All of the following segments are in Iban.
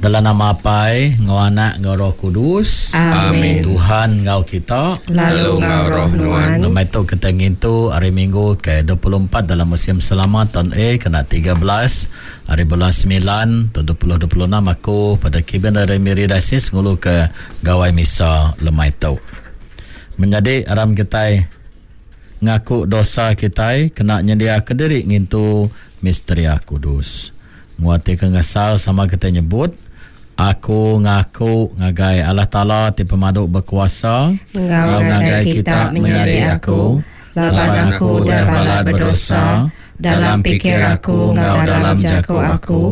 Dalam nama Apai, enggau Anak, enggau Roh Kudus. Amin. Tuhan enggau kita. Lalu enggau roh nuan. Lemai tu kita ngintu hari Minggu ke 24 dalam musim selama tahun A kena 13 hari bulan 9 tahun 2026 aku pada Kibin dari Miri Diocese ngulu ke Gawai Misa lemai tu. Menyadi aram kitai ngaku dosa kitai kena nyendiaka diri ngintu Misteria Kudus. Nguati ke ngesal sama kitai nyebut, Aku ngaku ngagai Allah Taala ti pemadu bekuasa, Enggau ngagai kita menyadi aku, laban aku udah balat bedosa dalam pikir aku enggau dalam jaku aku,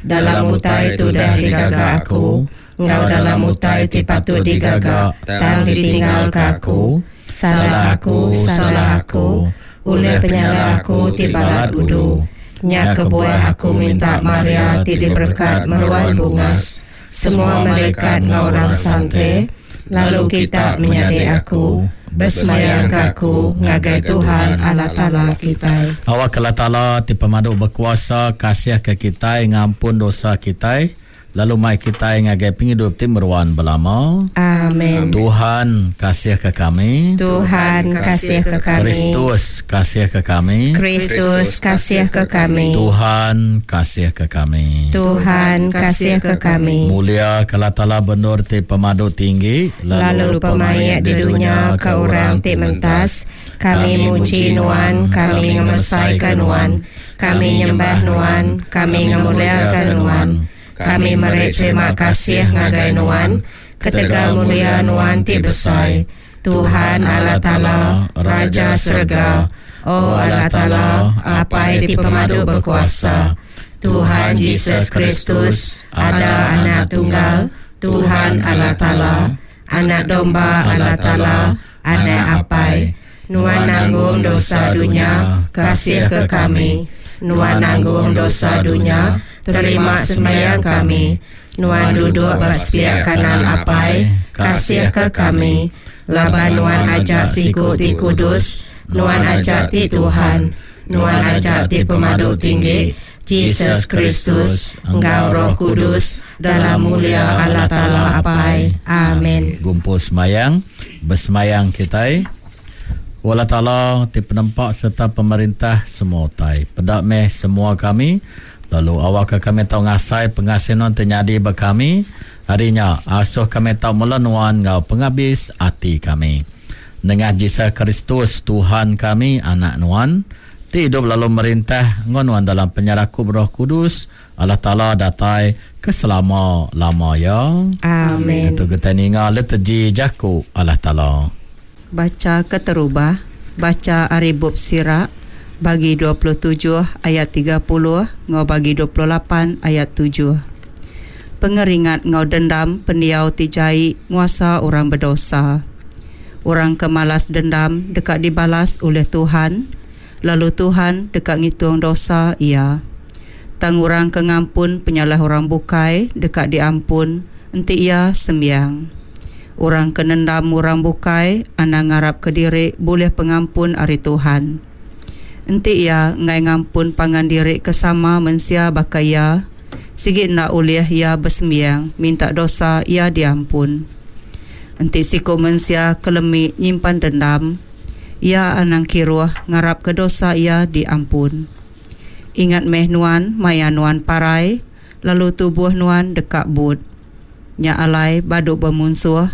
dalam utai ti udah digaga aku, enggau dalam utai ti patut digaga tang ditinggalka aku. Salah aku, salah aku, ulih penyalah aku ti balat udu. Nya kebuah aku minta Maria ti diberekat meruan bungas, semua malaikat enggau orang sante, lalu kita menyadi aku, besemayangka aku ngagai Tuhan Allah Taala kitai. Awakka Allah Taala ti pemadu bekuasa kasihka kitai ngampun dosa kitai. Lalu mai kitai ngagai pengidup ti meruan belama. Amen. Tuhan, kasihka kami. Tuhan, kasihka kami. Kristus, kasihka kami. Kristus, kasihka kami. Tuhan, kasihka kami. Tuhan, kasihka kami. Mulia ke Allah Taala bendur ti pemadu tinggi, lalu pemaik di dunya ke orang ti mentas. Kami muji Nuan, kami ngemesaika Nuan. Kami nyembah Nuan, kami ngemuliaka Nuan. Kami meri terima kasih ngagai Nuan ketegal mulia Nuan ti besai, Tuhan Allah Taala, Raja serega, O Allah Taala, Apai ti Pemadu Bekuasa, Tuhan Jesus Kristus, Ada Anak Tunggal, Tuhan Allah Taala, Anak Domba Allah Taala, Anak Apai. Nuan nanggung dosa dunya, kasihka kami. Nuan nanggung dosa dunya, terima sembahyang kami. Nuan duduk ba sepiak kanan Apai, kasihka kami. Laban Nuan aja siku ti kudus, Nuan aja ti Tuhan, Nuan aja ti Pemadu Tinggi, Jesus Kristus, enggau Roh Kudus, dalam mulia Allah Taala Apai. Amin. Gumpul semayang, besemayang kitai. O Allah Taala ti penempa sereta pemerintah semua utai, peda meh semua kami, lalu awakka kami tau ngasai pengasih Nuan ti nyadi ba kami. Ari nya, asuh kami tau mela Nuan enggau pengabis ati kami. Nengah Jesus Kristus, Tuhan kami, Anak Nuan, ti idup lalu merintah enggau Nuan dalam penyerakup Roh Kudus, Allah Taala datai ke selama-lama iya. Amin. Diatu kitai ninga liturgi jaku Allah Taala. Bacha keterubah, bacha ari bup Sirak, bagi 27 ayat 30 enggau bagi 28 ayat tujuh. Pengeringat enggau dendam pendiau ti jai nguasa orang bedosa. Orang ke malas dendam deka dibalas ulih Tuhan, lalu Tuhan deka ngitung dosa iya. Tang orang ke ngampun penyalah orang bukai deka diampun enti iya sembiang. Orang ke nendam orang bukai anang ngarapka diri bulih pengampun ari Tuhan. Enti iya enggai ngampun pangan diri ke sama mensia baka iya, sigi enda ulih iya besembiang minta dosa iya diampun. Enti siku mensia ke lemi nyimpan dendam, iya anang kiruh ngarapka dosa iya diampun. Ingat meh nuan maya nuan parai, lalu tubuh nuan deka but. Nya alai badu bemunsuh,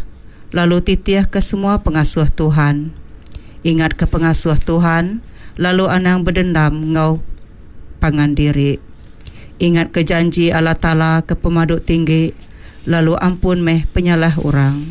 lalu titihka semua pengasuh Tuhan. Ingatka pengasuh Tuhan, lalu anang bedendam enggau pangan diri. Ingatka janji Allah Taala ke Pemadu Tinggi, lalu ampun meh penyalah orang.